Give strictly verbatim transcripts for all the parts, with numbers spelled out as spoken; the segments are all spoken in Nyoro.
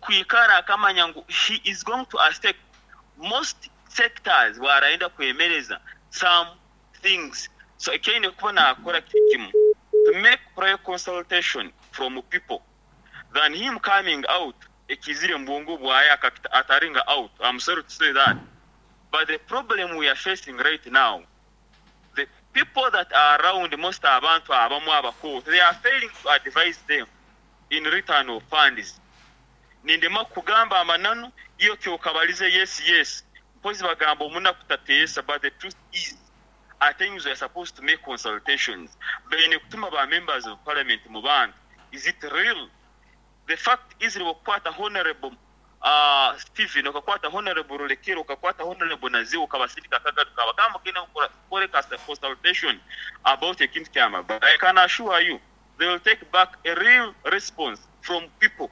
Kwikara akamanya ngu he is going to affect most sectors bwarayenda kwemereza some things. So ekyaine kuba nakora kiri kimu, to make prior consultation from people than him coming out ekizire mu bwongo bwaye akakita ataringa out. I'm sorry to say that, but the problem we are facing right now, the people that are around most, abantu abamu abakooto, they are failing to advise them in return of funds. Nindema kugamba amananu iyo kyokabalize. yes yes mpozi bagamba omunaku tateesa, but the truth is at times we are supposed to make consultations. Baine kutuma ba members of parliament mu bantu. Is it real? The fact is, okukwata Honorable uh, Stephen, okakwata Honorable Rulekero, okakwata Honorable Naziwo, okabasindika akagaruka, bagamba genda kukore consultation about ekintu kyama, but I can assure you they will take back a real response from people.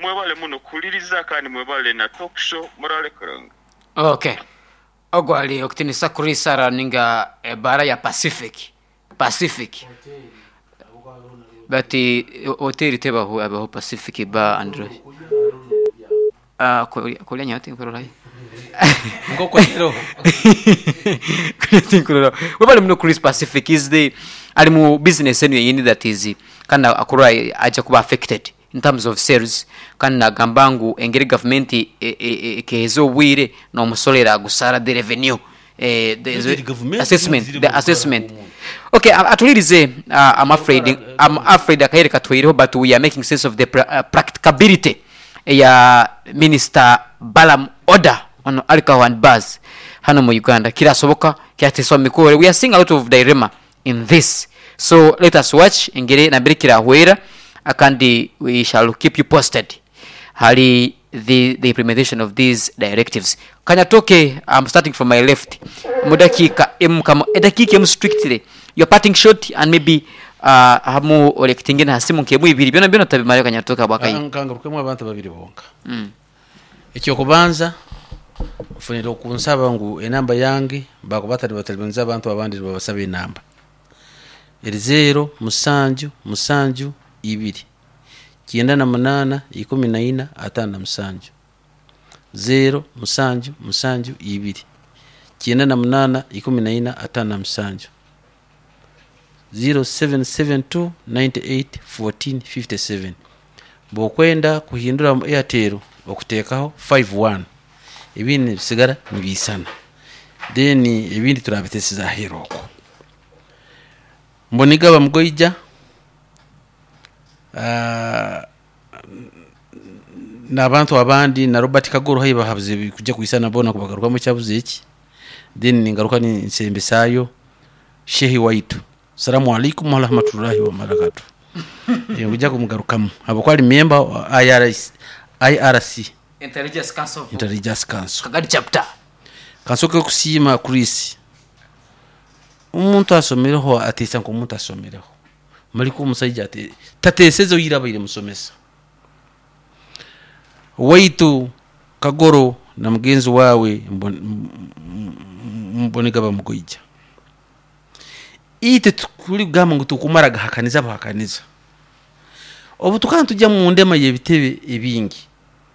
Mwebale muno kuwuliriza kandi mwebale na talk show. Murale kurunga. Okay, ogwali okutinisa Chris araninga ebara ya Pacific Pacific but hoteli tebaho abaho Pacific Bar and ah kulya nyati nkurora. Ngoko rero. Nkurora. Webale muno Chris. Pacific is the ali mu business enu yenyini that is kandi akura aja kuba affected in terms of sales, kandi nagamba ngu engeri gavumenti ekeheza obwire n'omusolera agusara the revenue, eh, the, The assessment, the assessment. Okay, atulirize. uh, i'm afraid i'm afraid akaire katwireho, but we are making sense of the pra uh, practicability ya Minister Balam order on alcohol and bars hano mu Uganda. Kirasoboka kyateswa mikore. We are seeing a lot of dilemma in this, so let us watch engeri nambere kirahwera, akandi we shall keep you posted hali the, the implementation of these directives. Kanyatoke, I'm starting from my left, mudakika emu kama edakika emu strictly, your parting shot, and maybe uh, hamu olekitingene hasimu nkemu ibiri byona byona tabimale. Kanyatoke bwakayi. Nkangarukemu abantu babiri bonka. mm. Ekyokubanza, nfunire okunsaba ngu enamba yange bakuba batali batalibanza abantu abandi babasaba enamba eri zero musanju musanju ibiri kyenda na munana ikumi na ina atano na musanju, zero musanju musanju ibiri kyenda na munana ikumi na ina atano na musanju, zero seven seven two ninety-eight fourteen fifty-seven. Bwokwenda kuhindura mu Airtel okuteekaho fifty-one, ebindi nibisigara nibiisana, then ebindi turabitesiza aheeru okwo. Mbonigaba mugoija, ah, n'abantu abandi na Robert Kagoro hayi bahabuze kujja kuisana bona kubagarukamu kyabuze eki. Then ningaruka ninsembesayo shehi waitu, salamu alaikum warahmatullahi wabarakatuh. Kujja kumugarukamu habwokuba ali member wa I R C, I R C. Intelligence Council of Intelligence Council. Kagadi chapter. Kansoke okusiima Chris, omuntu asomereho ateesa nk'omuntu asomereho maliko omusaija ate tateeseze oyira abaire musomesa waitu Kagoro na mugenzi wawe Mbonega bamugoija. Ite tukuli kugamba ngu tukumara gahakaniza buhakaniza obu tukaba tujja mu ndema y'ebitebe ebingi,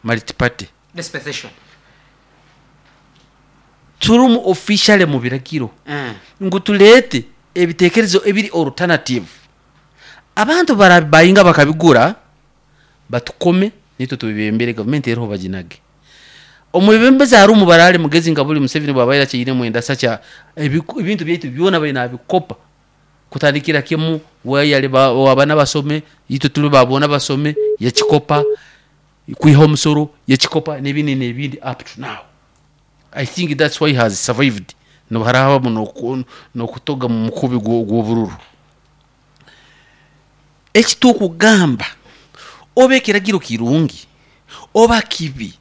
multiparty dispensation, turimu officially mu biragiro mm. ngu tuleete ebitekerezo ebiri alternative. Abantu barabayinga bakabigura batukome nitwe tubibembere gavumenti eriho baginage. Omwebembezi hari omubarale mugezi nga buli Museveni bwabaire akiine mwenda sakya ebiku- ebintu byaitu byona baine abikopa kutandikira kimu wayale wabana basome itwe tuli babona basome yakikopa, kwiha omusoro yakikopa n'ebindi n'ebindi. Up to now I think that's why he has survived noharahabamu nokutoga mu mukubi gw'obururu. Ekitukugamba oba ekiragiro kirungi oba kibi,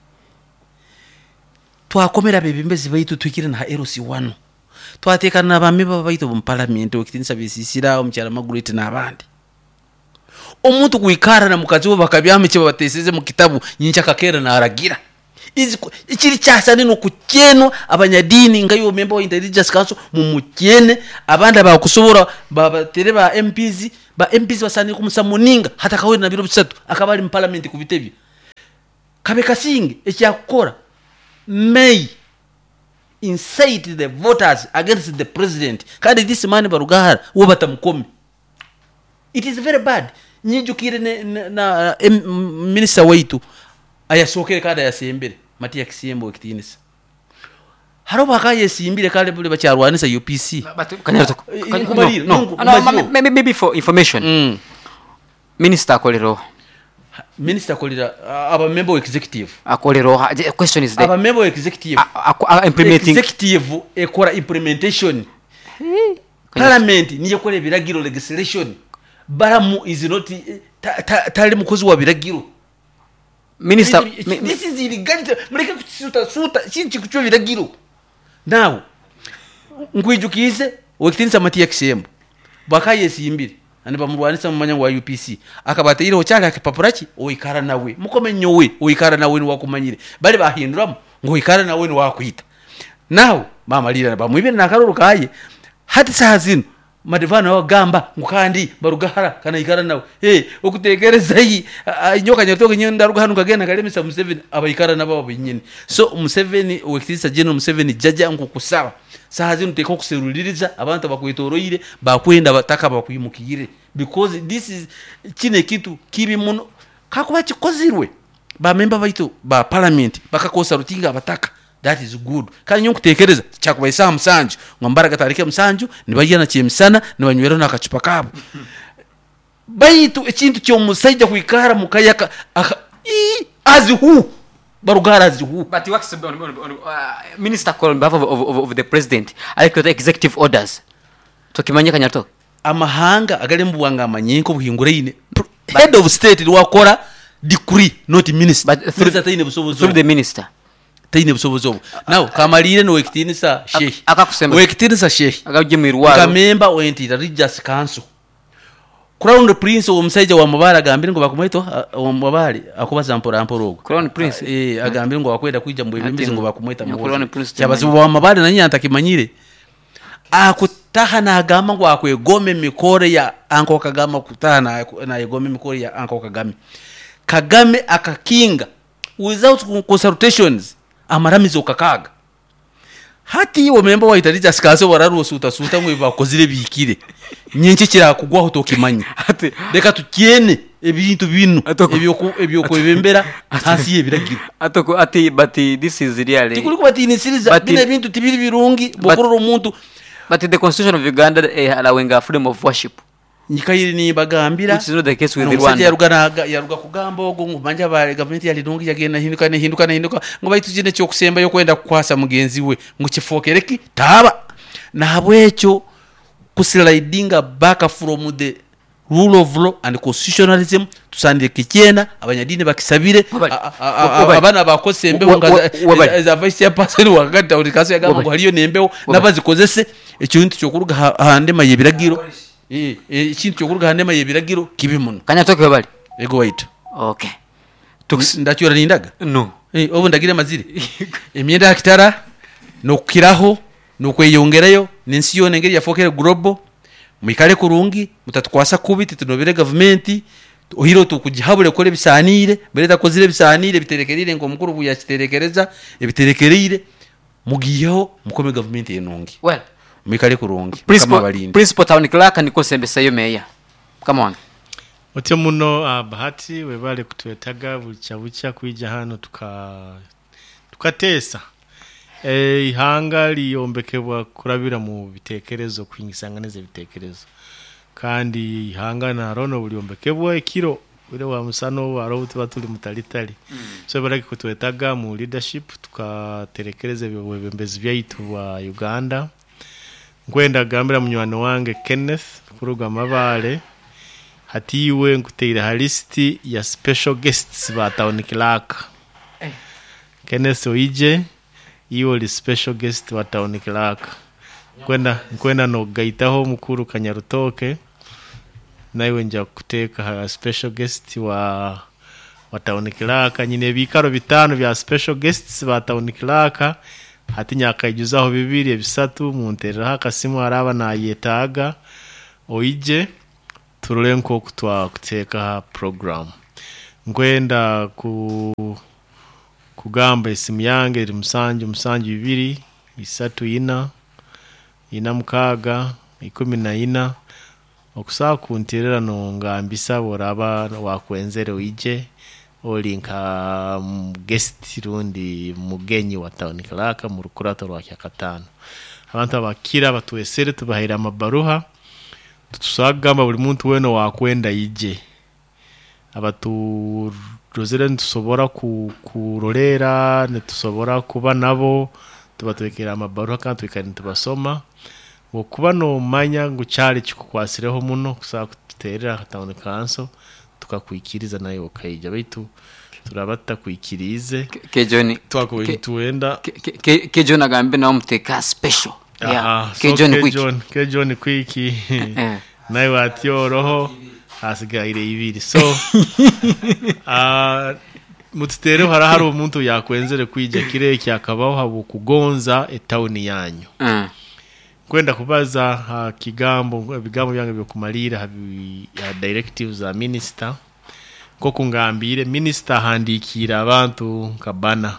twakomera abebembezi baitu twikire na L C one, twatekana n'abameba baitu omu palamenti okitinisa besisira omukyala Margaret n'abandi. Omuntu kwikara na mukazi we bakabyama eki babateseze mu kitabu nyinki akakera naragira Izi- ikiri kyasane nokukyenwa abanyadini nga yo member wa Intelligence Council mumukyene abandi abakusobora babatere ba M Ps, ba M Ps basane kumusamuninga hata kawere na biro bisatu akaba ari mu parliament ku bitebyo. Kabe kasinge ekyakukora may incite the voters against the president. Kandi this man Barugahara wo batamukome, it is very bad. Nyijukire ne, ne, na em, minister waitu ayasookere kandi ayasembere Matiya Kisembo ekitinisa, hariho bakayesimbire kale buli bakyarwanisa U P C. But Kanyarutoko, Eh, Kanya- nkumalire, no, no, nungu- no, maziyo. ma- ma- maybe for information, mm. minister akolera Minister akolera abamember wa executive. Akolera. The question is the Abamember wa executive. a- a- a- implementing. Executive ekora implementation, parliament niyo ekora ebiragiro, legislation. Baramu is not eh, ta- ta- tali mukozi wa biragiro. Minister This- mi- mi- this is illegality. Mureke kusuta suta kinki kucwa ebiragiro. Now nkwijukize wekitinisa Matiya Kisembo bwakayesimbire ani bamurwanisa mumanya wa U P C, akabateireho kyali akipapura ki oikara nawe mukome nyowe oikara nawe niwakumanyire bali bahinduramu ngu oikara nawe niwakwita. Now bamalira bamwibire nakaruru kaye. Hati saha zino madivano wagamba ngu kandi Barugahara kanaikara nawe. Hey, okutekereza yi nyoka nyatoke nyo ndaruga hano kagenda kalemesa Museveni abaikara nabo binyini. So Museveni, wekitinisa General Museveni, jaja nkukusaba saha zino teka okuseruliriza abantu abakwetoroire bakwenda bataka bakwimukire, because this is kino ekintu kibi muno kakuba kikozirwe. Bamemba baitu ba parliament bakakosa rutinga abataka, that is good. Kandi nyo nkutekereza kyakuba isaha musanju ngo mbaraga tarike musanju nibarya na kyemisana nibanywera n'akacupa kabo. Baitu ekintu kyomusaija kwikara mukayaka aka- ii, as who? Barugara as who? But he works on, on, on, uh, minister call on behalf of, of, of, of the president ariko executive orders tukimanye Kanyarutoko. Amahanga agali mu buwanga amanyi nk'obuhinguraine, head of state niwakora decree, not minister. But through- Minister taine busobozi through obwo. The minister. Taine busobozi obwo. Nawe kamalire nowekitinisa shehi. Akakusemba. Wekitinisa shehi, agajje mu irwaro. nka member wentira religious council, crown prince omusajja wa mubale agambire ngu bakumweta omubale akubaza mpora mpora ogwo. Crown prince? Eh, agambire ngu akwenda kwija mu bwebembezi ngu bakumweta. Nya Crown prince. Kyabazibu wa mabale nanye antakimanyire akutaha nagamba ngu akwegoma emikoro ya anko Kagame. Akutaha na- nayegoma emikoro ya anko Kagame. Kagame akakinga without consultations amaramizo kakaga. Hati iwe member wa religious council wararusuta suta ngo bakozire bikire nyenki kirakugwaho tokimanya. Ati- Reka tukyene ebintu bino Atoko- ebyoku- ebyokwebembera hansi y'ebiragiro. Atoko ati but this is really Tikuli kubatinisiriza. But- Bino ebintu tibiri birungi bokurora omuntu. But the constitution of Uganda eh, allowing a freedom of worship, Nyikaire nimbagambira. which is not the case with Omusajja Rwanda. yaruga naga- yaruga kugamba ogwo ngu manja ba gavumenti yali nungi yagenda hinduka nehinduka nehinduka ngu baitu kino ekyokusembayo kwenda kukwasa mugenzi we ngu kifokereki taaba. Nahabwekyo kuslidinga back from the rule of law and constitutionalism tusandire kikyena abanyadini bakisabire. Wabali. A- a- a- Wabali. Abaana bakozesa embeho Wa- nga wa- wabali. za vice chairperson wakati kaso yagamba Wabali. ngu haliyo nembeho nabazikozese. Ekintu kyokuruga ha- ha ndema y'ebiragiro. Eh, eh, ekintu kyokuruga ha ndema y'ebiragiro kibi muno. Kanyatoke bali. Ego waitu. Okay, Tuks- Ndacyura nindaga. No. Eh, obu ndagire mazire emyenda ya kitara nokukiraho nokweyongerayo nensi yoona engeri yafokere global. Mwikale kurungi, mutatukwasa kubi. Titunobere gavumenti ohiro tukugihabure kukora ebisanire mbere takozire ebisanire biterekerire nk'omukuru obu yakiterekereza ebiterekereire mugiyeho mukome gavumenti enungi. Well, Mwikale kurungi. Mukama principal abalinde. Principal town clerk nikosembesayo meya mukama wange. Otyo muno uh, Bahati, webale kutwetaga bucha bucha kwija hano tuka tukateesa. e, ihanga liyombekebwa kurabira mu bitekerezo, kwingisanganiza ebitekerezo. Kandi ihanga narono bulyombekebwa ekiro bwire wa musano waro tuba tuli mutalitali mm. So baraki kutwetaga mu leadership tukaterekereza ebyo byaitu bwa Uganda. Nkwenda gambira munywani wange Kenneth kuruga Mabale, hati iwe nkuteire ha lisiti ya special guests ba town clerk. Kenneth oije, iwe oli special guest wa town clerk. Nkwenda nkwenda nogaitaho mukuru Kanyarutoke, naiwe nja kuteeka ha special guest wa wa town clerk. Nyine ebikaro bitano bya special guests ba town clerk. Hati nyakaijuzaho bibiri ebisatu muntereraho akasimu araba nayetaaga oije turole nk'oku twakuteeka ha program. Nkwenda ku Kugamba esimu yange eri musanju musanju ibiri isatu ina ina mukaaga ikumi na ina. Okusobola kunterera nongambisa bworaba wakwenzere oije oli nka guest rundi mugenyi wa town clerk mu rukurato rwa Kyakatano. Abantu abakira batwesere tubahaire amabaruha, tutusobola kugamba buli muntu weena owakwenda ije. Abaturozere nitusobora ku- kurorera, nitusobora kuba nabo, tubatwekere amabaruha kandi twikare nitubasoma. Okuba nomanya ngu kyali kikukwasireho muno kusobola kututerera nka town council tukakwikiriza nawe okaija, baitu turaba tutakwikiriize Kejoni twakubaire nitwenda. Kejon agambe nawe muteeka special. Yeah. Aha, so Kejon quick. Kejon Kejon quick Eh. nawe watyoroho hasigaire ibiri. So ah, mututereho hara hari omuntu yakwenzere kwija kiro eki akabaho habwokugonza etawuni yanyu. Mm. Kwenda kubaza ha kigambo, ebigambo byange byokumalira ha bi- ha directives za minister. Nkoku ngambire, minister ahandikiire abantu nka bana,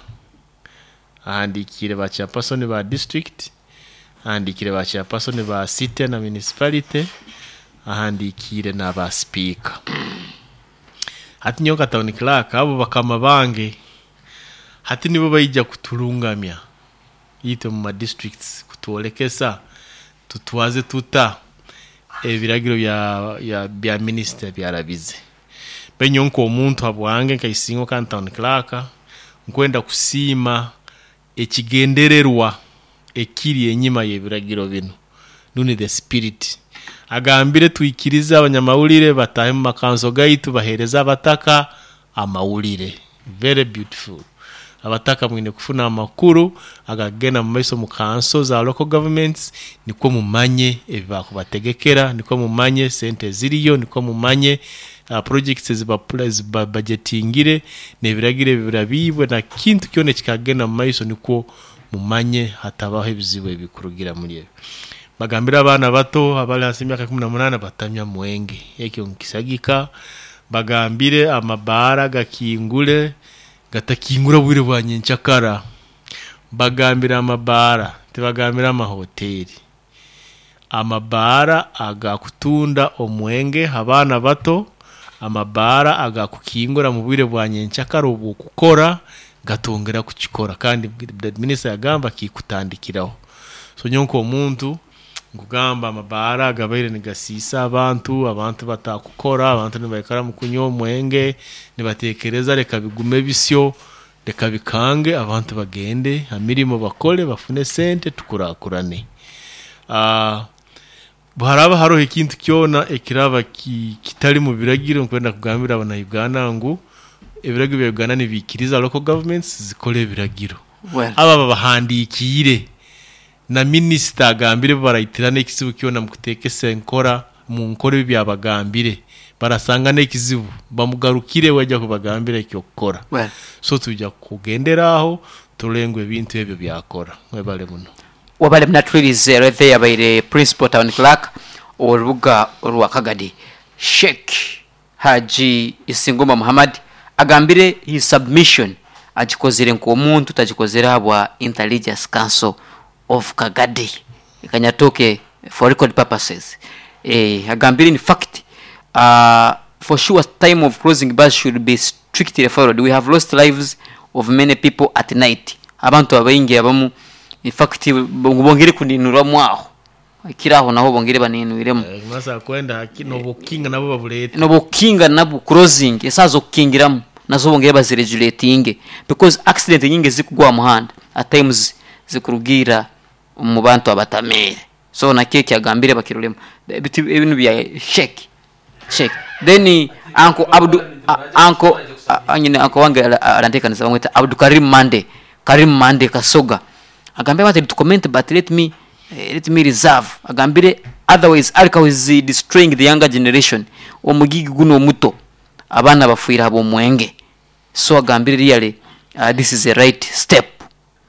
ahandikiire ba chairperson ba district, ahandikiire ba chairperson ba city na municipality, ahandikiire n'aba speaker. Hati nyowe nka town clerk, abo bakama bange hati nibo baija kuturungamya itwe mu ma districts, kutwolekesa tutwaze tuta ebiragiro bya, ya, bya minister byarabize. Benyo nk'omuntu habwange nkaisingo kandi town clerk, nkwenda kusiima ekigendererwa ekiri enyima y'ebiragiro bino, nuni the spirit agambire twikirize abanyamawulire batahe mu makanso gaitu bahereza abataka amawulire. Very beautiful. Abataka mwine kufuna amakuru agagenda mu maiso mu kanso za local governments, nikwo mumanye ebibakubategekera, nikwo mumanye sente ziriyo, nikwo mumanye, uh, projects ziba budgetingire n'ebiragiro ebirabibwe na kintu kyona ekikagenda mu maiso, nikwo mumanye hatabaho ebizibu ebikurugira muri ebyo. Bagambira abaana bato abali hansi y'emyaka kumi na munaana batamya mwenge, ekyo nkisagika. Bagambire amabaara gakingule, gatakingura bwire bwa nyenkyakara. Bagambira amabaara, tibagambira amahoteri, amabaara agakutunda omwenge abaana bato, amabaara agakukingura mu bwire bwa nyenkyakara obwokukora gatongera kukikora. Kandi minisita yagamba kikutandikiraho. So nyowe nk'omuntu nkugamba amabaara gabaire nigasiisa abantu, abantu batakukora, abantu nibaikara mu kunywa omwenge, nibatekereza reka bigume bisyo, reka bikange, abantu bagende ha mirimo bakole bafune sente tukurakurane. Ah, haraba haroho ekintu kyona ekiraba ki- kitali mu biragiro, nkwenda kugambira abana ngu ebiragiro bya Uganda nibiikiriza local governments zikole ebiragiro. Well. Aba babahandikiire na minisita agambire baraitirana ekizibu kyona mukuteekesa enkora mu nkora ebi byabagambire, barasanga n'ekizibu bamugarukire wajja kubagambira ekyokukora. Well. So tujja kugendera aho turole ngu ebintu ebyo byakora. Mwebale muno. Wabale munatwirize rethe yabaire principal town clerk orubuga orwa Kagadi, Sheikh Haji Isingoma Muhammad, agambire his submission agikozere nk'omuntu, tagikozere habwa Intelligence Council of Kagadi kanyatoke for record purposes. Eh, agambire in fact, uh, for sure time of closing bars should be strictly followed. We have lost lives of many people at night. Abantu abaingi abamu in fact bongere kuninurwamu aho kiraho naho bongere baninwiremu. Masa kwenda nobukinga nabo babulete. Nobukinga nabo closing esazo kukingiramu nazo bongere baziregulatinge, because accident nyingi zikugwa muhanda at times zikurugira mu bantu abatamere. So na keke agambire bakirolemo ebintu bya shake shake. Then anko Abdu, anko anyine anko wange arantekanisa bamwita Abdu Karim Mande, Karim Mande Kasoga, agambire wanted to comment but let me eh, let me reserve. Agambire otherwise alcohol is destroying the younger generation, omugigi guno omuto abaana bafuira abo mwenge. So agambire really, uh, this is a right step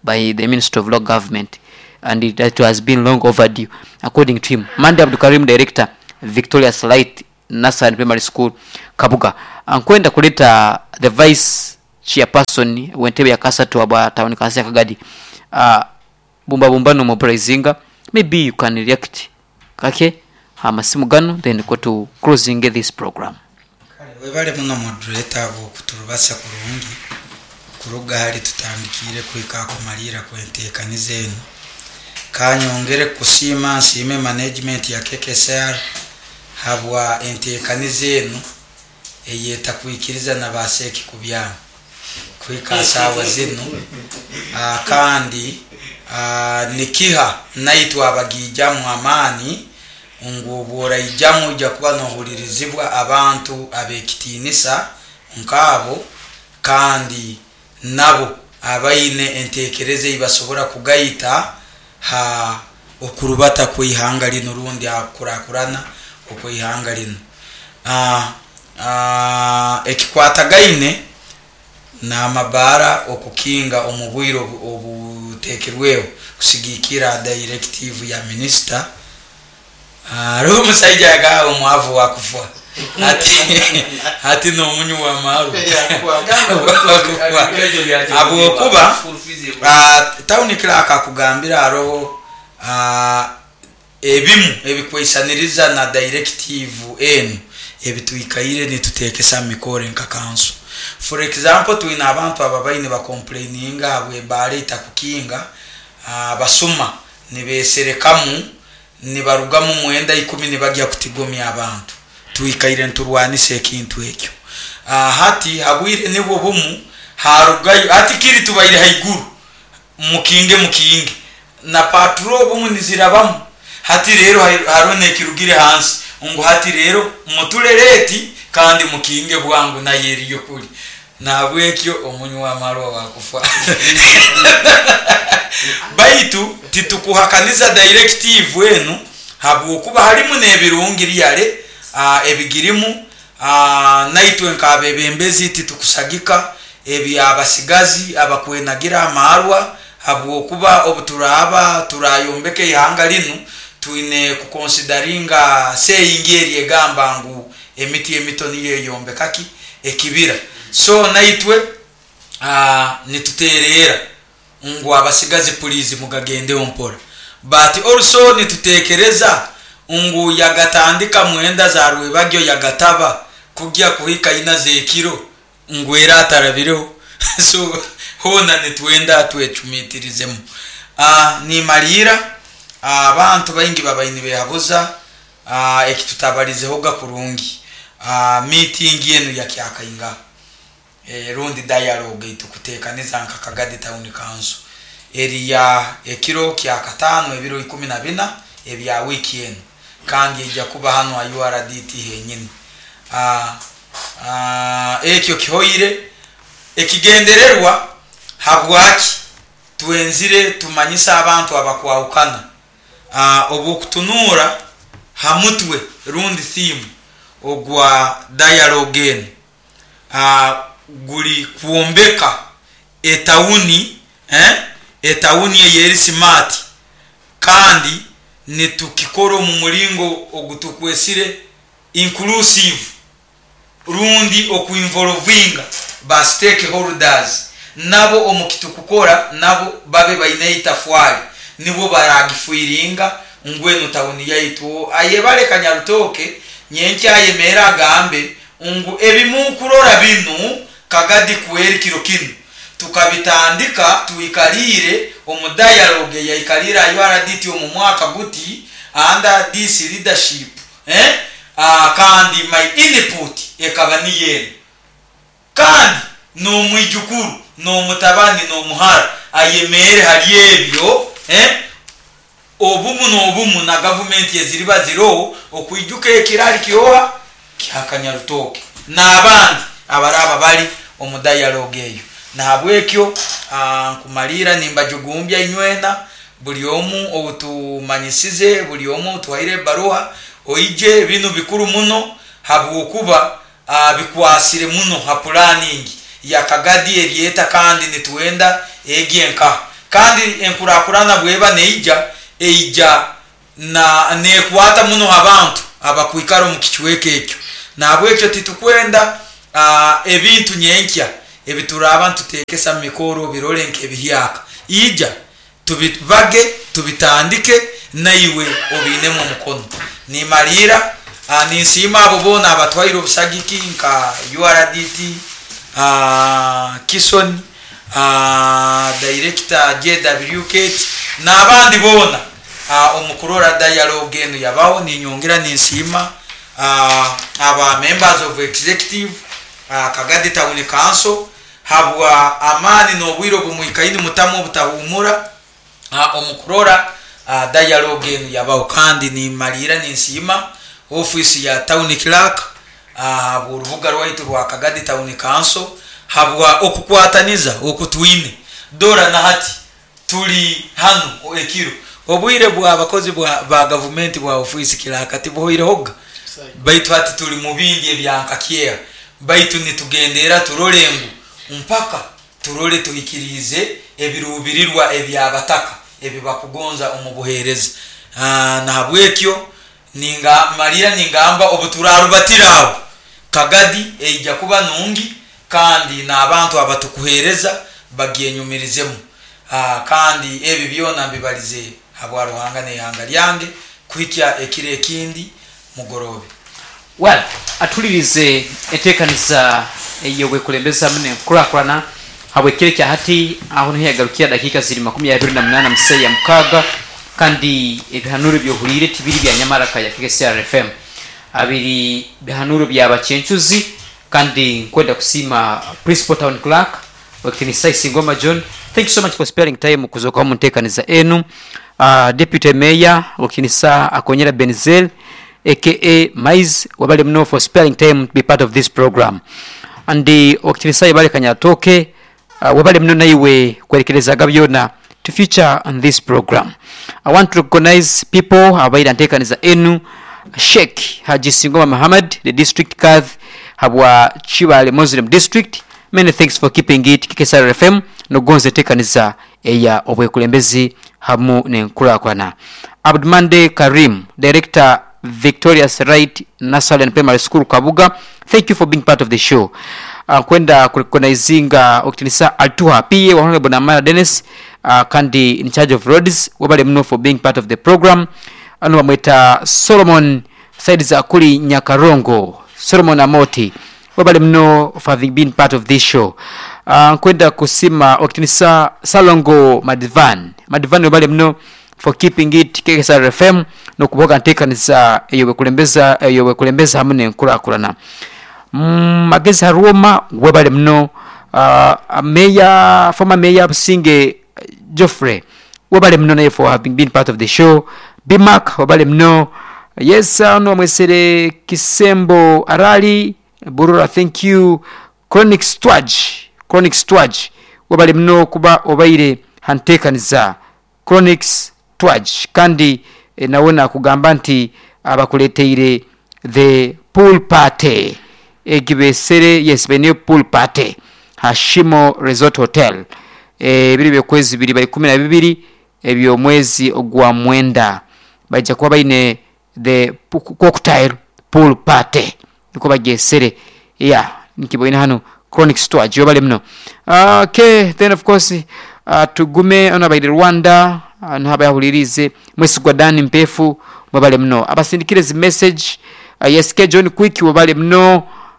by the Minister of Local Government and it, that has been long overdue according to him. Mande Abdul Karim, director, Victoria's Light Nursery Primary School, Kabuga. Ankwenda kuleta the vice Chairperson w'entebe ya kasatu aba town council ya Kagadi. uh, bumba bumba no mobilizinga, maybe you can react kake amasimu gano, then go to closing this program. Webale muno moderator bwokuturubasa kurungi kuruga hali tutandikire kuhika kumalira kwentekaniza enu. Kanyongere kusiima, nsiime management ya K K S R habwa entekaniza enu eyetakwikiriza na baseki kubyama kuhika saawa zinu. uh, kandi uh, nikiha naitwe abagijamu amaani ngu obworaijamu ojja kuba nohulirizibwa abantu ab'ekitiinisa nkaabo, kandi nabo abaine entekereza ei basobora kugaita ha okurubata kw'ihanga lino rundi hakukurakurana okw'ihanga lino. uh, uh, ekikwatagaine n'amabaara okukinga omu bwire obuteekirweho kusigikira directive ya minisita, hariho omusaija yagamba omwavu wakufa ati ati n'omunywi w'amaarwa wakufa, habwokuba town clerk akugambira haroho ebimu ebikweisaniriza na directive enu ebitwikaire nituteekesa mu mikoro nka kanso. For example, twine abantu ababaine bacomplaininga habw'ebaara itakukinga, basuma nibeserekamu, nibarugamu mwenda ikumi nibagya kutigomya abantu. Twikaire nturwanisa ekintu ekyo. Hati habwire nibwo bumu harugayo hati kiri tubaire haiguru mukinge mukinge na patrol bumu nizirabamu. Hati rero hariho nekirugire hansi ngu hati rero mutuleleti kandi mukinge bwangu naye eriyo kuli nabwekyo omunywi w'amarwa wakufa. Baitu titukuhakaniza directive enu habwokuba harimu n'ebirungi ryale uh, ebigirimu. uh, naitwe nk'abebembezi titukusagika ebyabasigazi abakwenagira amarwa, habwokuba obu turaaba turayombeka ihanga linu twine kuconsideringa saying eri egamba ngu emiti emito niyo eyombekaki ekibira. So naitwe uh, nitutereera ngu abasigazi please mugagendeho mpora, but also nitutekereza ngu yagatandika mwenda za rwebagyo yagataba kugya kuhika ina zekiro ngu era atarabireho. So hona nitwenda twecumiitirizemu. uh, nimalira abantu baingi babaini behabuza uh, ekitutabarizehoga kurungi, uh, meeting yenu yakyakainga e, rundi dialogue itukutekaniza nka Kagadi Town Council eriya ekiro kya katano ebiro ikumi na bina ebya wiki enu, kandi ejja kuba hano ha U R D T henyini. uh, uh, ekyo kihoire. Ekigendererwa habwaki twenzire tumanyisa abantu abakwahukana, uh, obwokutunura ha mutwe rundi theme ogwa dialogue enu uh, guli kwombeka etawuni, eh? Etawuni eyeri smart, kandi nitukikora omu muringo ogutukwesire inclusive rundi okuinvolvinga ba stakeholders nabo omu kitukukora, nabo babe baine itafwali nibo baragifuiringa ngwenu tawuni yaitu ayebale Kanyarutoke nyenkya ayemera agambe ngu ebimukurora binu Kagadi kweri kiro kinu tukabitandika tuikalire omu dialogue yaikalira U R D T omu mwaka guti under this leadership, eh? uh, kandi my input ekaba niyenu, kandi n'omwijukuru n'omutabani n'omuhara ayemere hali ebyo, eh? Obumu n'obumu na gavumenti eziriba ziroho okwijuka ekirali kyoha kyakanyarutoke n'abandi abaraba bali omu dialogue eyo. Nahabwekyo nkumalira nimbajugumbya inywena buli omu obutumanyisize, buli omu otuhaire ebaruha oije. Binu bikuru muno habwokuba uh, bikwasire muno ha planning ya Kagadi eryeta, kandi nitwenda egye nkaha, kandi enkurakurana bweba neija eija na nekwata muno abantu abakwikara omu kicweka ekyo. Nahabwekyo titukwenda uh, ebintu nyenkya. Ebituraba ntutekesa mu mikoro birole nk'ebihyaka, ija tubibage, tubitandike, naiwe obinemu omukono. Nimalira, ah, ninsiima abo boona abatwaire obusagiki nka U R D T, ah, Kison, ah, director J W Kate n'abandi boona ah, omukurora dialogue enu yabaho. Ninyongera ninsiima ah, aba members of executive ah, Kagadi Town Council habwa amaani n'obwire obumwikaini mutamu obutahumura ah, omukurora ah, dialogue enu yabaho. Kandi nimalira ninsiima office ya town clerk ah, urubuga rwaitu rwa Kagadi Town Council habwa okukwataniza okutwine. Dora na hati tuli hano ekiro, obwire bw'abakozi bwa ba gavumenti bwa ofisi clerk tibuhoirehoga, baitu hati tuli mu bindi ebyankakyeha, baitu nitugendera turole ngu mpaka turole tuhikiriize ebirubirirwa ebyabataka ebibakugonza omu buheereza. Ah, nahabwekyo ninga malira ningamba obuturarubatira aho, Kagadi eija kuba nungi kandi n'abantu abatukuheereza bagyenyumirizemu. Ah, kandi ebi byona mbibalize habwa Ruhanga n'ihanga lyange. Kuhikya ekiro ekindi, mugorobe. Well, atulirize enteekaniza ey'obwekulembeza mune nkurakurana habwekiro kya hati. Aho niho yagarukira, dakiika ziri makumi abiri na munana museya mukaaga. Kandi ebihanuro byohuliire tibiri bya nyamaraka ya K C R F M, abiri bihanuro bya bakyencuzi. Kandi nkwenda kusiima principal town clerk Wakitinisa Isingoma John, thank you so much for sparing time kuzoka mu nteekaniza enu. uh, deputy mayor Wakitinisa Akonyera Benzel aka Maize, wabale muno for sparing time to be part of this program. And Wakitinisa Ibale Kanyatoke, uh, wabale muno naiwe kwerekerezaga byona to feature on this program. I want to recognize people abaira nteekaniza enu: Sheikh Haji Singoma Muhammad, the district kadhi habwa Chibale Muslim District, many thanks for keeping it K K S R F M nogonza enteekaniza eya obwekulembezi hamu nenkurakurana. Abdumande Karim, director, Victorious Right Nursery and Primary School, Kabuga, thank you for being part of the show. uh, kwenda kurecognizinga okutinisa Altuha P A wa Honorable Namara Dennis, uh, kandi in charge of roads, wabale muno for being part of the program. Ano bamweta Solomon side za kuli Nyakarongo, Solomon Amoti, wabale muno for having been part of this show. uh, nkwenda kusima okutinisa Salongo Madvan Madvan, wabale muno for keeping it K S R F M nokuboga nteekaniza eyo bwekulembeza eyo bwekulembeza hamu nenkurakurana. mm, magezi Harwoma, webale muno. uh, mayor former mayor Businge Geoffrey, webale muno naye for having been part of the show. Bimak, webale muno. Yes, ano wamwesere Kisembo Arali Burura, thank you. Chronic Stwaj, Chronic Stwaj, webale muno kuba obaire hanteekaniza Chronic Stwaj. Kandi eh, nawe nakugamba nti abakuleteire the pool party egibesere, yes, beneyo pool party Hashimo Resort Hotel, ebiri byokwezi bibiri by kumi na bibiri ebyomwezi ogwa mwenda, bajja kuba baine the cocktail pool party, niko bagyesere. Yeah, nkiboine hano Chronic Storage, yobale muno. uh, okay, then of course uh, tugume ono abaire Rwanda, uh, niho abayahulirize Mwesigwa Dan Mpefu, mwebale muno abasindikire zi message. uh, yes, K John Quick, webale muno.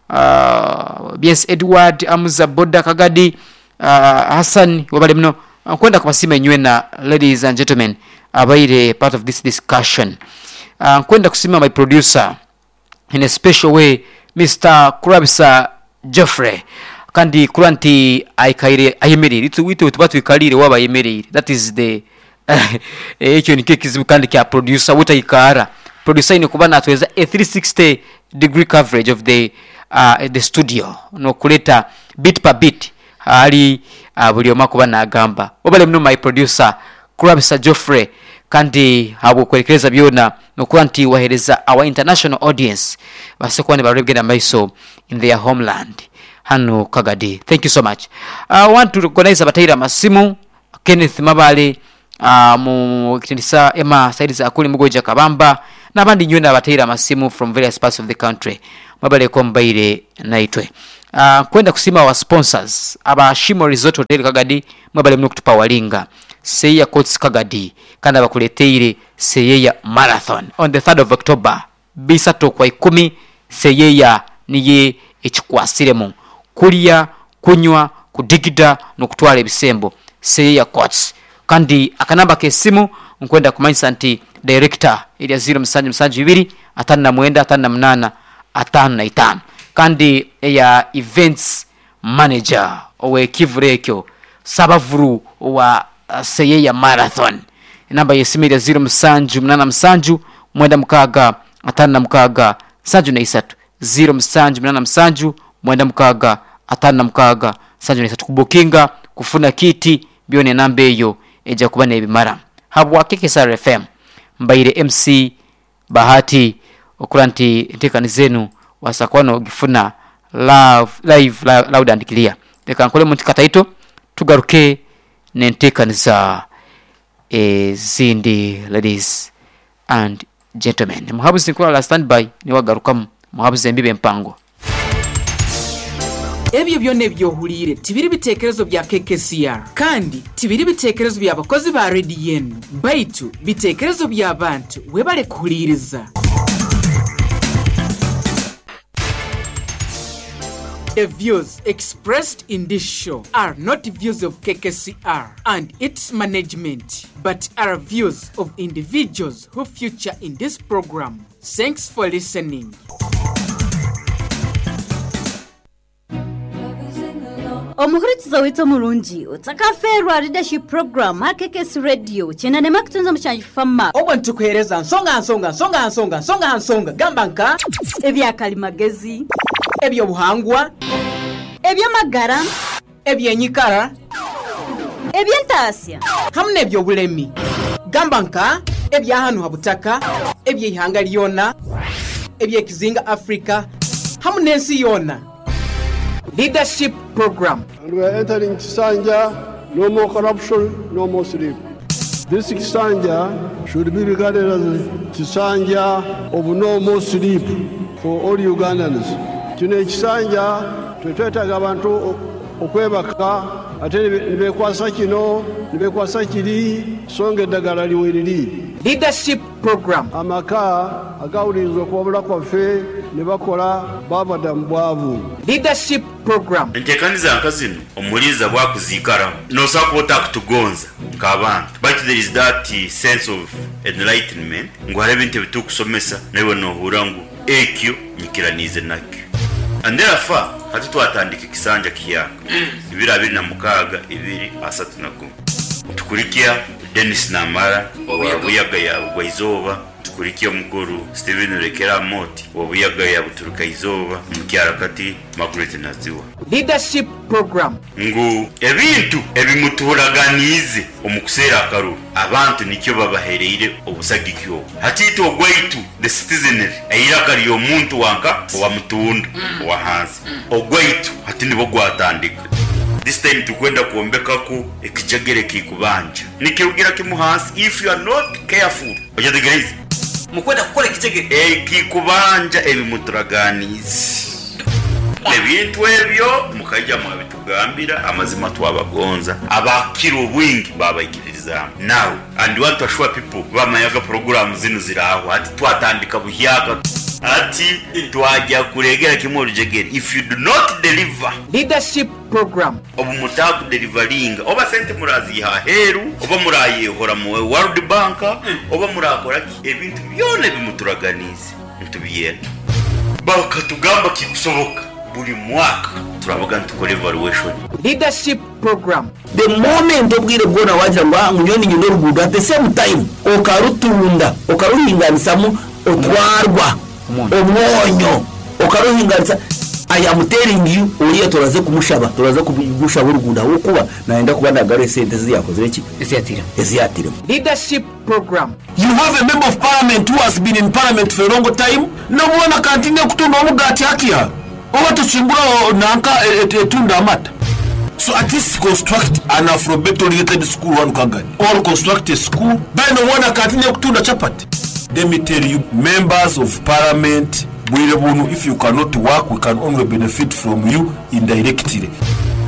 uh, yes, Edward Amuza Boda Kagadi, uh, Hassan, webale muno. uh, kwenda kubasima enywena, ladies and gentlemen, abaire part of this discussion. uh, kwenda kusima my producer in a special way, Mister Kurabisa Jeffrey, kandi kura nti aikaire ayemerire itu itu tuba twikalire waba ayemerire, that is the ekyo nikyo ekizibu kandi kya producer wutaikara. Producer ine kuba natweza a three sixty degree coverage of the uh, the studio nokuleta bit per bit ali uh, buli omu akuba nagamba. Wabale muno my producer Kurabisa Geoffrey, kandi habwokwerekereza byona nokuba nti wahereza our international audience base kuba nibareba maiso in their homeland hano Kagadi. Thank you so much. I want to recognize abataire amasimu: Kenneth Mabale, uh, mu kitindisa Emma side za akuli Mugoja Kabamba n'abandi nywena abataire amasimu from various parts of the country. Mwabaleko mbaire naitwe. Uh, kwenda kusima wa sponsors aba Shimo Resort Hotel Kagadi, mwabale muno kutupa walinga Seya Courts Kagadi, kandi abakuleteire Seyeya Marathon on the third of October bisatu kwa ikumi. Seyeya niye ekikwasiremu kulya, kunywa, kudigida n'okutwala ebisembo. Seyeya Courts. Kandi akanamba k'essimu nkwenda kumanyisa nti director erya zero musanju musanju ibiri atano na mwenda atano na munana atano na itano, kandi eya events manager ow'ekivule ekyo sabavuru wa uh, Seyeya Marathon, enamba y'essimu erya zero musanju munana musanju mwenda mukaaga atano na mukaaga nsanju na isatu, zero musanju munana musanju mwenda mukaaga atano na mukaaga nsanju na isatu. Kubukinga kufuna kiti byona enamba eyo ejja kuba n'ebimara. Habwa K K S R F M mbaire M C Bahati, okula nti enteekani zenu wasakuba ogifuna love, live loud and clear. Leka nkole muntu kataito tugaruke n'enteekaniza ezindi. Ladies and gentlemen, muhabuzi nkulala standby niwagarukamu muhabuzi embibe empango. Ebyo byonna ebyohuliire tibiri biteekerezo bya K K C R, kandi tibiri biteekerezo by'abakozi ba rediyo enu, baitu biteekerezo by'abantu webale kuhuliiriza. The views expressed in this show are not views of K K C R and its management, but are views of individuals who feature in this program. Thanks for listening. Omuhurikiza witso murungi utakaferwa leadership program ha K K S Radio chena nema kutunza mushanji fama obwo ntukuhereza nsonga nsonga nsonga nsonga nsonga nsonga gamba nka ebyakalimagezi, ebyobuhangwa, ebyamagara, ebyenyikara, ebyentasya hamwe n'ebyobulemi, gamba nka ebyahanu habutaka, ebyeihanga lyona, ebyekizinga Africa hamwe n'ensi yona. Leadership program. And we are entering Kisanja, no more corruption, no more sleep. This Kisanja should be regarded as Kisanja of no more sleep for all Ugandans. Kino ekisanja twetwetaaga abantu okwebaka ate ne beekwasa kino ne beekwasa kiri, so nga eddagala liweriri. Leadership program. Amaka agawuliriza okuwabula kwaffe ne bakola baava dda mu bwavu. Leadership program. Enteekaniza nka zino omuliiza bwakuziikaramu nosobola kuba otakutugonza nk'abantu, but there is that sense of enlightenment ngu hariho ebintu ebitukusomesa naiwe nohurra ngu ekyo nyikiraniize nakyo. And therefore hati twatandika ekisanja kiyaka ibiri abiri na mukaaga ibiri asatu na gumu, tukurikia Dennis Namara owa Buyaga ya Bugwaizooba, tukurikia omukuru Steven Rekera Moti owa Buyaga ya Buturuka Izooba, omukyara Margaret Naziwa. Leadership program. Ngu ebintu ebimutuhuraganiize omu kuseera akaruru abantu nikyo babahereire obusagiki obwo. Hatiitwe ogwaitu the citizenry eiraka ry'omuntu wanka owamutunda owa hansi ogwaitu hati nibwo gwatandika. This time tukwenda kuombekaku ekijegere kikubanja nikirugira kimu hansi. If you are not careful ojategereza mukwenda kukora ekijegere ekikubanja ebimuturaganiize ebintu ebyo mukajja mwabitugambira amazima twabagonza abakira obwingi babaikiririzaamu. Now and want to assure people bamayaga program zino ziraho ati twatandika buhyaka ati twajja kuregera kimwe olujegere. If you do not deliver leadership program, obu mutaku delivelinga oba sente muraziha aheru oba murayehora mu World Bank oba murakora ki, ebintu byona bimuturaganize ntubiyenda bakatugamba kikusoboka buli mwaka turabaga ntukore evaluation. Leadership program. The moment obwire bwona wagira ngo ngunyoni nyino rugudo, at the same time okarutunda okaruhinganisamu otwarwa omwonyo okaruhinganisa. I am telling you, oriya turaze kumushaba turaze kumushaba urugunda wokuba naenda kuba ndagare sente ziyakozere ki eziyatira eziyatira. Leadership program. You have a member of parliament who has been in parliament for a long time, nobona kantine kutunda omugati hakia oba tuchimbura nanka etunda amata. So at least construct an alphabet oriented school one kagani or construct a school beno wana kantine kutunda chapati. Let me tell you, members of parliament Bwire bunu, if you cannot work, we can only benefit from you indirectly.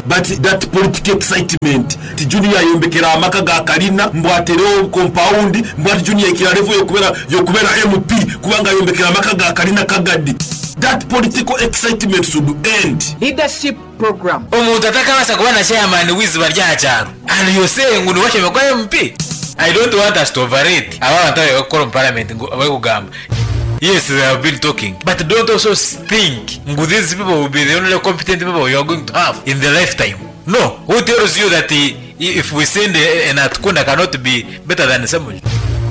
But that political excitement, ti Junior ayombekera amaka ga kalina, mbu aterewo compound, mbu ati Junior ikira level yokubera, yokubera M P, kubanga ayombekera amaka ga kalina kagadi. That political excitement should end. Leadership program. Omuntu atakabasa kuba na chairman w'iziba rya cyaro. And you say ngo niwashime kwa M P. I don't want us to overrate. Aba bantu bari gukora mu parliament ngo bari kugamba. Yes, they have been talking, but don't also think ngo these people will be the only competent people you are going to have in the lifetime. No, who tells you that he, if we send an Atukunda cannot be better than someone?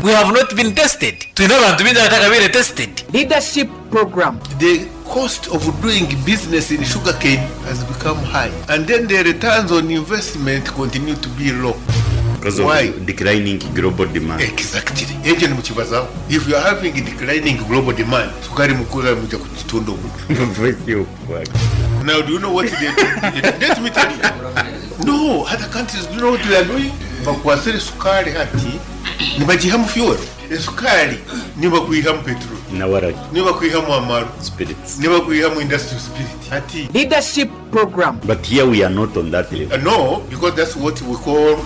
We have not been tested. Twina abantu bingi abatakabire tested. Leadership program. The cost of doing business in sugarcane has become high, and then the returns on investment continue to be low. Because of Why? Declining global demand. Exactly. Ekyo nimukibazaho. If you are having a declining global demand, sukari mukura muja kutunda omuntu. Now, do you know what they do? Let me tell you. No, other countries, do you know what they are doing? Bakwasire sukari hati, nibagiha mu fuel. Esukari nibakuyiha mu petrol. Nawaragi. Nibakuyiha mu amaru. Spirits. Nibakuyiha mu industrial spirit. Hati. Leadership program. But here we are not on that level. Uh, no, because that's what we call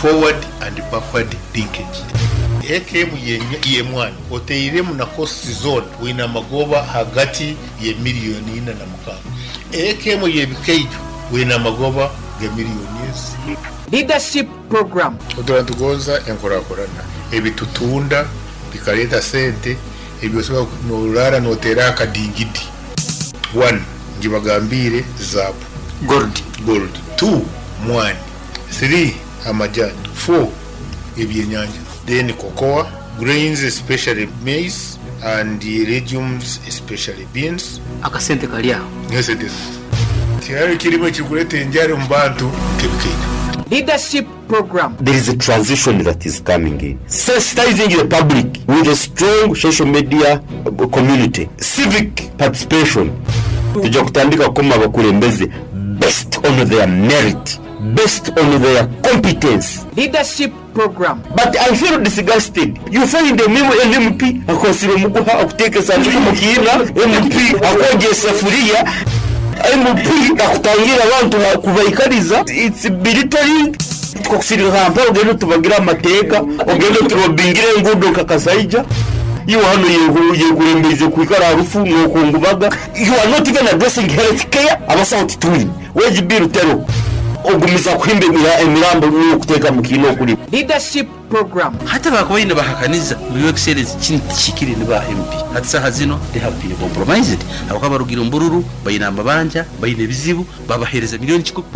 forward and backward linkage. A K M ye mwana oteiremu na cost zone wina magoba hagati ye miliyoni ina na mukaaga. A K M ye bikeijo wina magoba ge miliyoni ezi. Leadership program. Oturantugonza enkorakorana ebitutunda bikaleta sente ebyosobola norara notera akadingidi. One, njibagambire zabu gold gold. Two, mwani. Three, amajani. Four, ebyenyanja. Then cocoa, grains especially maize, and the legumes especially beans. Akasente kali aho. Yes, it is. Tiyari kirimo kikuleta enjara mu bantu kebikeita. Leadership program. There is a transition that is coming in. Sensitizing the public with a strong social media community. Civic participation. Tujja kutandika kukoma abakulembeze based on their merit, based on their competence. Leadership program. But I feel disgusted. You find a M M P akosire muguha akuteeka sanduku mu kiina, M P akwogya esafuriya, M P akutangira abantu kubaikariza. It's belittling. Twakusirira Kampala ogende tubagira amateeka, ogende turobingire enguudo nka Kasaija. Iwe hano yekurembeize kwikara harufu n'okungubaga. You are not even addressing health care. Abasawo titwine. Wage bill tero. Ogumiza kuhimba emirambo n'okuteeka mu kiina okuli. Leadership program. Hata bakubaine bahakaniza mu excellence kintu kikiri ni ba M P. Hati saha zino they have been compromised. Abakaba barugira mbururu bayina amabanja bayina ebizibu babahereza miliyoni kikumi.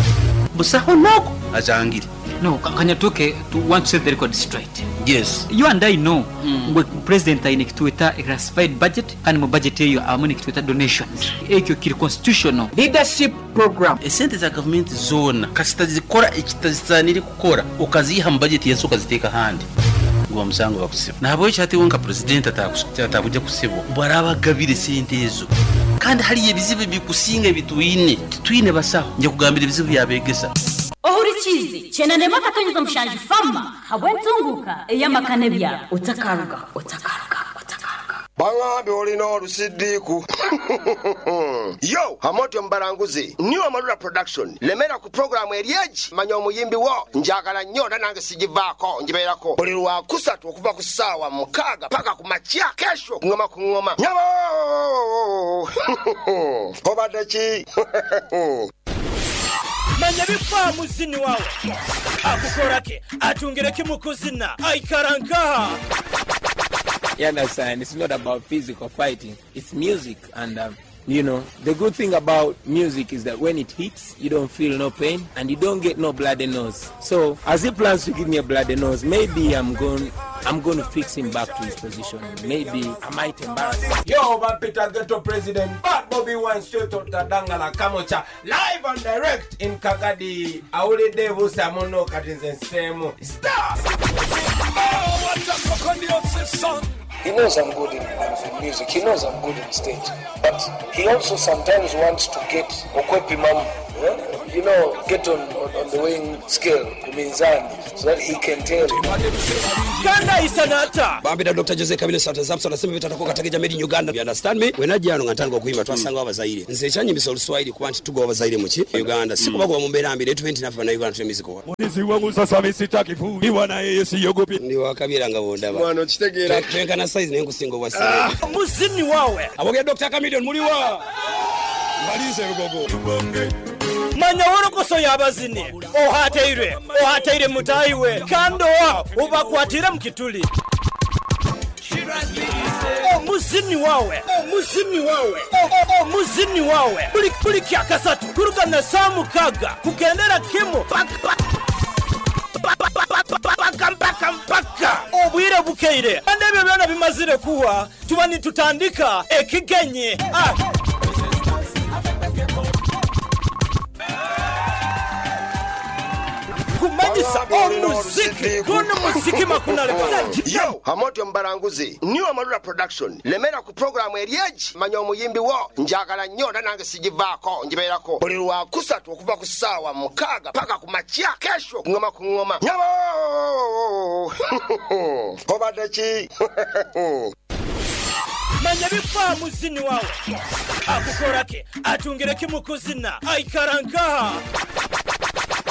Busaho nako ajangire. No, Kanyatuke, to want to set the record straight. Yes. You and I know mm. President aine kituweta classified budget kandi mu budget eyo abamu nikituweta donations. Ekyo kiri constitutional. Leadership program. Esente za government zona kasita zikora ekitazanire kukora okaziha mu budget yenso okaziteeka handi. Ngo musango bakusiba. Nabo eki wonka president atakuja kusibwa. Barabagabire sente ezo. Kandi hari ebizibu bikusinga ebitwine. Titwine basaho. Nje kugambira ebizibu byabegesa. Ohurikizi chenanema katonyeza mushanju fama habwentunguka eyamakane bya otakaruga otakaruga otakaruga Bangambe olina olusidiku. Yo, Hamotyo Mbaranguzi, New Amarula Production. Lemera ku programu eryeji manya omuyimbi wo njagala nnyo era nange sigivaako ngibeerako buli lwa kusatu okuva ku ssaawa mukaaga paka ku makya kesho ngoma ku ngoma. Nyabo! Obadde ki? Manya bifa muzini wawe akukorake atungireke mukuzina aikarankaha. You understand? It's not about physical fighting. It's music. And, um, you know, the good thing about music is that when it hits, you don't feel no pain and you don't get no bloody nose. So, as he plans to give me a bloody nose, maybe I'm going, I'm going to fix him back to his position. Maybe I might embarrass him. Yo, man, Peter Ghetto President, Bad Bobby Wine, straight out Tadangala, Kamocha, live and direct in Kagadi. Aule Devu Samono Katinzen Semo. Stop! Oh, what a fucking son! He knows I'm good in, in music. He knows I'm good in stage. But he also sometimes wants to get Okwepi Mamu. Yeah? you know, get on, on, on the weighing scale, kuminzani, so that he can tell. Kanda isanata. Bambira Doctor Jose Kabile Santa Zamson asema bitatakuwa katika jamii in Uganda. You understand me? Wenajja nga ntandika okuyimba twasanga abazaire. Nze ekyanyimbisa oluswayiri kuba nti tugoba abazaire mu ki? Uganda. Si kubagoba mu mbeera mbi, naye tube nti naffe bannayuganda tuli miziko. Mulizi wangu sasa mimi sitaki kuiwa na yeye siogopi. Ndi wakabira nga bondaba. Mwana okitegeera. Twenkana size naye nkusinga obwa size. Muzini wawe. Abogera Doctor Chameleone muliwa. Malize rugogo. Manya worokoso y'abazini ohateire ohateire mutayiwe kando wa ubakwatire mukituli omuzini wawe omuzini wawe omuzini wawe buli buli kyakasatu kuruka na saa mukaga kugendera kimu paka mpaka mpaka obwire bukeire kandi ebyo byona bimazire kuwa tuba nitutandika ekigenyi ah. Kumanyisa omuziki guno muziki makunaleka. Yo Hamotyo Mbaranguzi New Amarula Production lemera ku programu eryeji manya omuyimbi wo njagala nnyo era nange sigivaako ngibeerako buli lwa kusatu okuva ku ssaawa mukaaga paka ku makya kesho ngoma ku ngoma nyabo obadde ki? Manya bifa muzini wawe akukorake atungireke mukuzina aikarankaha.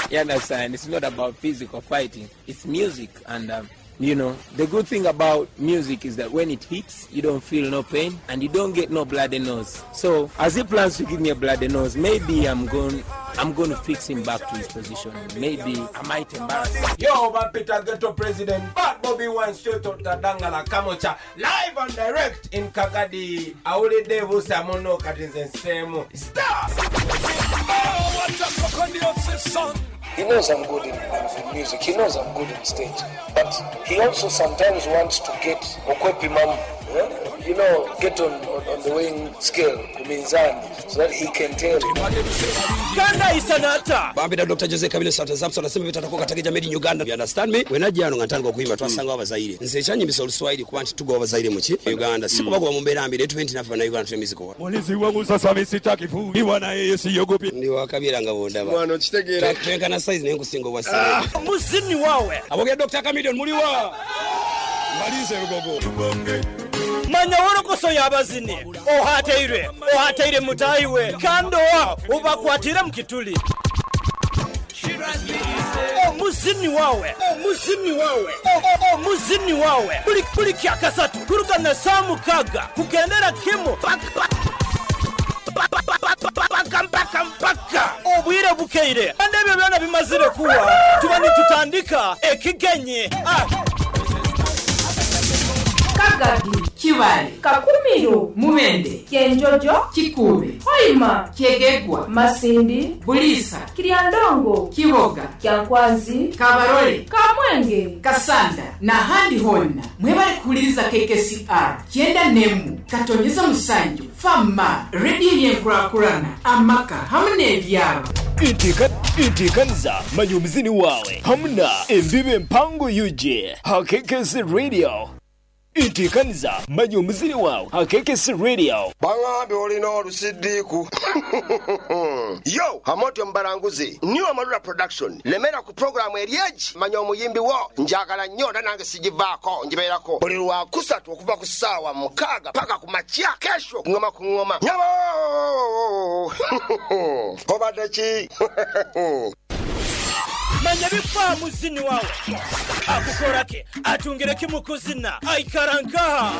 You understand? It's not about physical fighting. It's music. And, um, you know, the good thing about music is that when it hits, you don't feel no pain and you don't get no bloody nose. So, as he plans to give me a bloody nose, maybe I'm going, I'm going to fix him back to his position. Maybe I might embarrass him. Yo, Peter Ghetto President, Bad Bobby Wine straight out Dangala Kamocha, live and direct in Kagadi. Awulidde busa muno kati nze nseemu. Stop! Oh, what a fucking son. He knows I'm good in, in music. He knows I'm good in stage. But he also sometimes wants to get okwepimamu, yeah? You know, get on, on, on the weighing scale, kuminzani, so that he can tell. Kanda isanata. Bambira Doctor Jose Kabile Santa Zamson asema bitatakuwa katika jamii in Uganda. You understand me? Wenajja nga ntandika okuyimba twasanga abazaire. Nze ekyanyimbisa oluswayiri kuba nti tugoba abazaire mu ki? Uganda. Si kubagoba mu mbeera mbi, naye tube nti naffe bannayuganda tuli miziko. Mulizi wangu sasa mimi sitaki kuiwa na yeye siogopi. Ndi wakabira nga bondaba. Mwana okitegeera. Twenkana size naye nkusinga obwa size. Muzini wawe. Abogera Doctor Chameleone muliwa. Malize rugogo. Manya worokoso y'abazini ohateire ohateire mutayiwe kando wa ubakwatire mukituli omuzini wawe omuzini wawe omuzini wawe buli buli kyakasatu kuruka na saa mukaga kugendera kimu paka mpaka mpaka obwire bukeire kandi ebyo byona bimazire kuwa tuba nitutandika ekigenyi ah. Kagadi, Kiwale, Kakumiro, Mubende, Kyenjojo, Kikube, Hoima, Kyegegwa, Masindi, Bulisa, Kiryandongo, Kiboga, Kyankwanzi, Kabarole, Kamwenge, Kasanda n'ahandi honna mwebale kuwuliriza K K C R kyenda n'emu katonyeza musanju fama rediyo y'enkurakurana amaka hamwe n'ebyalo. Intikaniza manya omuzini wawe hamuna embibe empango U G ha K K C Radio. Intikaniza manya omuzini wawe ha K K C Radio. Bangambe olina olusiddiiku. Yo Hamotyo Mbaranguzi New Amarula Production lemera ku programu eryeji manya omuyimbi wo njagala nnyo era nange sigivaako ngibeerako buli lwa kusatu okuva ku ssaawa mukaaga paka ku makya kesho ngoma ku ngoma nyabo obadde ki? Manya bifa muzini wawe akukorake atungireke mukuzina aikarankaha.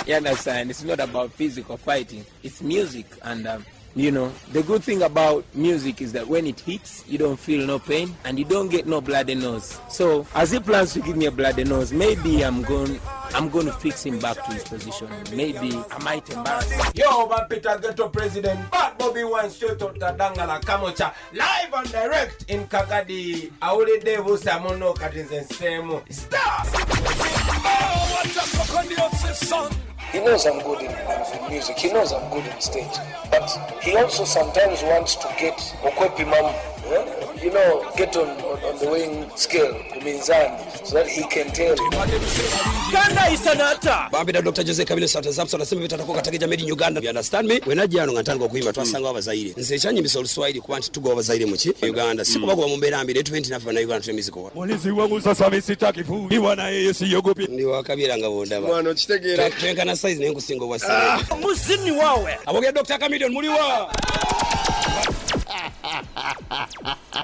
You understand? It's not about physical fighting. It's music. And, um, you know, the good thing about music is that when it hits, you don't feel no pain and you don't get no bloody nose. So, as he plans to give me a bloody nose, maybe I'm going, I'm going to fix him back to his position. Maybe I might embarrass him. Yo, Peter Ghetto President, Bad Bobby Wine straight out Dangala Kamocha, live and direct in Kagadi. Awulidde busa muno kati nze nseemu. Stop! Oh, what a fucking son. He knows I'm good in, in music. He knows I'm good in stage. But he also sometimes wants to get okwepimamu, yeah? you know, get on, on, on the weighing scale, ku minzani, so that he can tell. Kanda Bambira Doctor Jose Kabine Sata Zapson asema bitatakuwa katika jamii in Uganda. You understand me? Wenajja wano nga ntandika okuyimba twasangawo abazaire. Nze ekyanyimbisa Oluswahili kuba nti tugoba abazaire mu ki? Uganda. Si kubagoba mu mbeera mbi, naye tube nti naffe Bannayuganda tuli miziko. Mulizi wangu sasa mimi sitaki kuiwa na yeye siogopi. Ndi wakabyera nga bw'ondaba. Mwana okitegeera. Twenkana size naye nkusinga obwa size. Muzini wawe. Abogera Doctor Chameleone muliwa.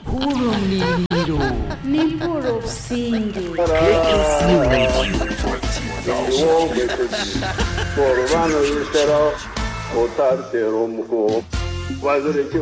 Hurumliro nimpura obusinge. Olubano yisero otatera omuko wazireke.